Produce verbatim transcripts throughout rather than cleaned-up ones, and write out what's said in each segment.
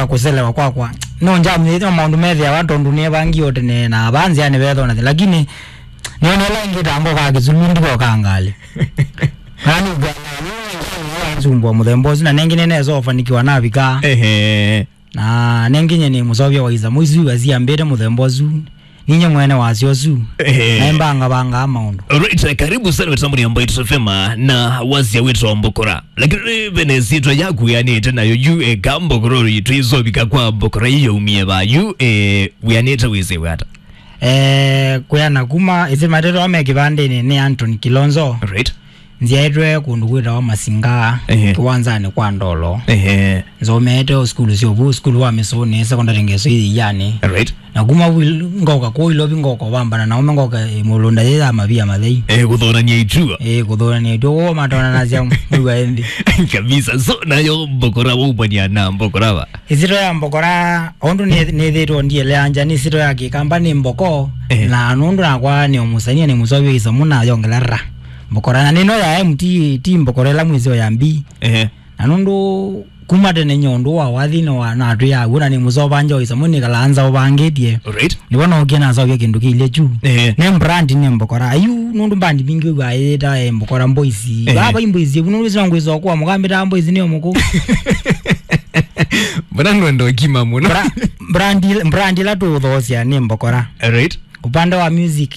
Kũselewa kwakwa. No njamnyĩte maũndũ methĩawa tondũ nĩevangie o tene na vaa nzĩanĩ vethona thĩ. Lakini nĩona ĩla ĩngĩ ta ngoka kĩsulu ndikoka ngalĩ. Nani ngana nsumbwa mũthemba ũsu na nengĩ nĩnesa ũfanikiwa navika. Ehe. Na nengĩ nye nĩ mũsovya wa isa mũisu asiambĩte mũthemba ũsu. Ninye mwene wasyo ũsu. Ehe. Na ĩmbanga vangaa maũndũ. Alright, karibu sana wetamboni ya Mbaitu F M na wasia wĩtwa Mbokora. Lakini vene sitwa yaku yanĩte nayo yu eka Mbokora ri twizovika kwa Mbokora iyo umie va yu, eh, wianĩte wĩsĩ wata. Eh, kuyana kuma ĩsĩ matetwa me kĩvandĩnĩ nĩ Anthony Kilonzo. Right. Nzyaĩtwe kũndũ kwĩtawa Masinga, ehe, kĩwanzanĩ kwa Ndolo. Ehe. Nzomeete o sukulu syovu, sukulu wa Mĩsũnĩ, secondary ngeso iyanĩ. Right. Na kuma vu ngoka kũu Ilovi ngoka vambana na ũme ngoka, eh, mũlũnda yĩ ya mavia mathei. Eh, kũthonania itua. Eh, kũthonania itua. Woo matonanasya mwĩwa ĩnthĩ. Kabisa. So, nayo Mbokora waumania na Mbokora va? Ĩsito ya Mbokora, ũndũ nĩ, nĩthĩtwo ndieleanja, nĩ ĩsito ya Kĩkamba nĩ Mboko, ehe, na nũndũ nakwa nĩ ũmusania nĩ mũsovya isamu na yongela ra. Mbokora, na nĩno ya M T, ti Mbokora ĩla mwĩseo ya mbi. Ehe. Na nũndũ kuma tene nye ũndũ wa wathi nĩ wa natwĩ ya w'o na nĩ mũsovanja o isamu nĩkalaa nza ũvangĩtye. Right. Nĩvo nokie nasovya kĩndũ kĩilye kyu. Ehe. Nĩ brand nĩ Mbokora. Ayu nũndũ bandi mbingĩ wĩw'aa yĩta, eh, Mbokora Boys. Ehe. Vaa vai Boys, evu nũndũ sina ngwĩsa kwa mũkambĩta Boys nĩ mũkũ. Mbona nũenda ũkima mũno? Bra-, brand il-, brand ĩla tũũthoosya nĩ Mbokora. Right. Upande wa music,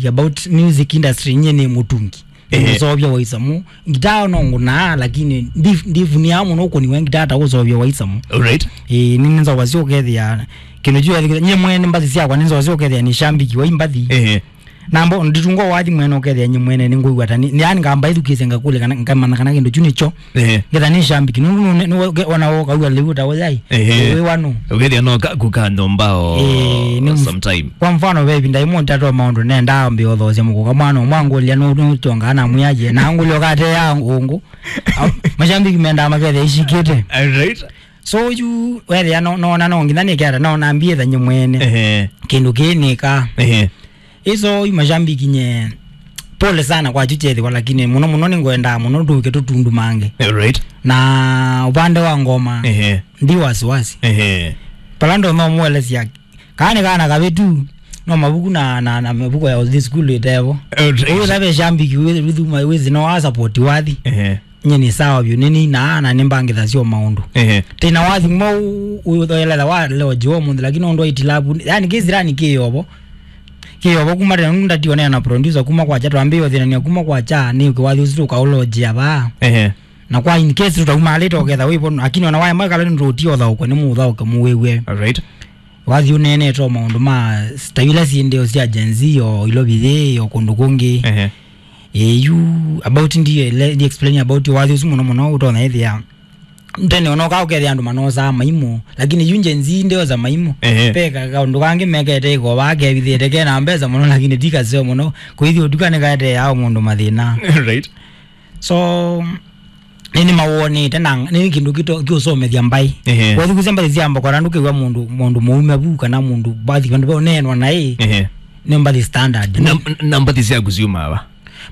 about music industry, nye nĩ mũtungi. Ehe. Mũsovya wa isamu. Ngitaa no ngũnaa, lakini ndif-, ndivunia mũno ũkũni wa ngitaa ta ũsovya wa isamu. Alright. Ĩĩ, nĩ nzova syo ũkethĩa. Kĩndũ kyu ethĩkĩte, nye mwene mbathi syakwa nĩ nzova syo ũkethĩa nĩ shambiki wa imbathi. Ehe. Nambo, nditunga wathi mwene ũkethĩa nye mwene nĩ ngũigua ta nĩ, nĩ yani ngamba ithukĩsya ngakũlya kana, ngamanya kana kĩndũ kyu nĩkyo. Ehe. Ngetha nĩ shambiki, nũndũ nũ-, nũ-, nge-, ona ũkauga lĩu ta ũyai. Ehe. Wĩ wanu. Ũkethĩa no kaku ka ndombao. Ĩĩ, nĩ mus-, sometime. Kwa mfano, ve ĩvinda ĩmwe ntatwa maũndũ nendaa mbĩothoosya mũkũka mwana ũmwe angũlya nũ-, nũtongaa na mwĩaje, na angũlya ũkatea ngũngũ. Au, mashambiki mendaa makethĩa ishikĩte. Alright. So, yu wethĩa no, no, na no nginya nĩketa, no nambie thanye mwene. Ehe. Kĩndũ kĩĩ nĩka. Ehe. Iso yu mashambiki nye, pole sana kwa chu chethĩwa, lakini mũno mũno nĩngwendaa mũno tũke tũtundu mange. Alright. Na upande wa ngoma, ehe, ndi wasiwasi. Ehe. Pala ndo no mwelesya, kana nĩ kana kavĩtu, no mavuku na, na, na mavuku ya ũthi sukulu ĩtevo. Alright. Ũyũ nave shambiki wĩ, wĩ, wĩ, wĩ, no a support wathi. Ehe. Nye nĩ sawa vyũ, nĩ nĩ na, na nĩ mbangĩthasya o maũndũ. Ehe. Tĩna wathi mwa ũthoeletha wa leo jiwa mũnthĩ, lakini ũndũ wa itilabu, yani kĩsirani kĩyovo. Kĩyovo kuma tena nũndũ ndationea na producer kuma kwa cha, twambĩĩe ũthinania kuma kwa cha, nĩ ũkĩ wathi ũsu tũkaũlojia vaa. Ehe. Na kwa in case tũtaumalĩte ũketha wĩvo, lakini ona waema kala nĩ tũtiothaũkwe nĩ mũthaũke mũwĩw'e. Alright. Wathi ũneenete o maũndũ ma ta ila syĩ ndeo sya Gen Z o Ilovi yĩ o kũndũ kũngĩ. Ehe. Ĩĩ, yu about ndiye le, ndi explain about wathi ũsu mũno mũno ũtonya ĩthĩa. Tene ona ũka ũkethĩa andũ manosaa maimũ, lakini yu Gen Z ndeosa maimũ. Ehe. Pe ka-, kaũndũ kangĩ mekete ĩkova kevithĩte kena mbesa mũno, lakini ti kaseo mũno. Kwĩthi ũtuka nĩ kaeteaa mũndũ mathĩna. Right. So, nĩ, nĩ mawonete na nĩ kĩndũ kĩto-, kĩũsomethya mbaĩ. Ehe. Wathukusya mbathi sya Mbokora ndũkĩw'a mũndũ, mũndũ mũume vu kana mũndũ mbathi vandũ va ũneenwa naĩ. Ehe. Nĩ mbathi standard. Na, na mbathi syaku syumaa va?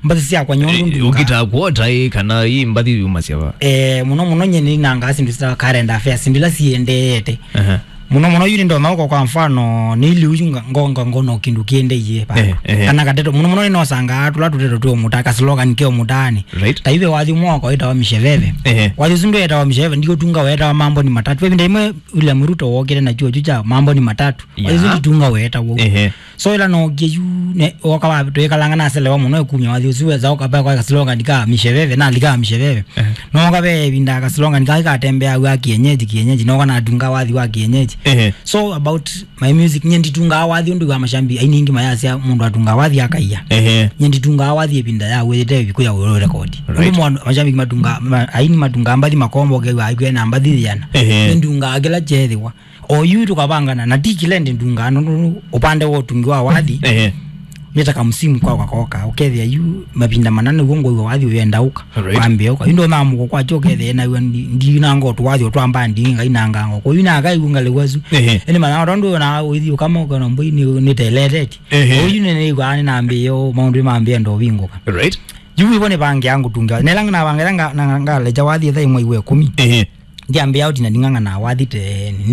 Mbathi syakwa nyondu. Eh, nduka. Ũkĩtaa kuota ĩ kana ĩ mbathi yumasya va? Eh, mũno mũno nye nĩnangaa syĩndũ sya current affairs, syĩndũ ila siendeete. Aha. Mũno mũno yu nĩndonya ũko kwa mfano, nĩ iliu yu nga-, ngonga ngono kĩndũ kĩendeiye va. Eh, eh. Kana kateto, mũno mũno nĩnosangaa tũla tũteto twĩ mũta, ka slogan ke mũtaani. Right. Ta ive wathi ũmwe wakwa wĩtawa Misheveve. Eh. Wathi ũsu ndwetawa Misheveve, ndiũtunga wetawa mambo ni matatu. Ve ĩvinda ĩmwe William Ruto wokĩte na chuo chu cha mambo ni matatu. Yeah. Wathi ũsu nditunga weta wou. Ehe. So ĩla nookie yu, ne, oka wa, twĩkalanga naselewa mũno ĩkumya wathi ũsu weza ũkapa kwa slogan ka Misheveve, na lika Misheveve. Ehe. Noka ve ĩvinda ka slogan ka katembeawa kienyeji, kienyeji, noka natunga wathi wa kienyeji. Ehe. So about my music, nye nditungaa wathi ũndũ wa mashambi, aini ingĩ mayasya mũndũ atunga wathi akaia. Ehe. Nye nditungaa wathi ĩvinda ya wĩte ĩviku ya record. Right. Ũndũ mwa-, mashambi matunga, ma-, aini matunga mbathi makombo kewa aikwena mbathi yana. Ehe. Nye ndungaa kĩla kyethĩwa. O yu tũkavangana, na ti kĩla ĩndĩ ndungaa, nũndũ ũpande wa ũtungi wa wathi, ehe, nĩ ta kamsimu kwa kakoka. Ũkethĩa yu mavinda mana nĩw'o ngũiwa wathi ũyenda ũka. Right. Wambĩa ũka. Yu ndonaa mũko kwakyo ũkethĩa naiwa ndi-, ndinanga ũtũ wathi ũtwambaa ndinga inanganga. Kwa yu nakaigua ngalĩwa su. Ehe. Ĩndĩ manya tondũ na ũithi ũkama ũkona mbũi nĩ, nĩteletetye. Ehe. Kwa yu nĩnĩigua nĩnambĩĩe maũndũ mambĩĩe ndovingũka. Right. Yu ivo nĩvangĩa ngũtunga. Nela navangĩa nga-, na ngalecha wathi ĩtha ĩmwe iwe kũmi. Ehe. Ndiambĩa ũtina nding'ang'ana wathi tene.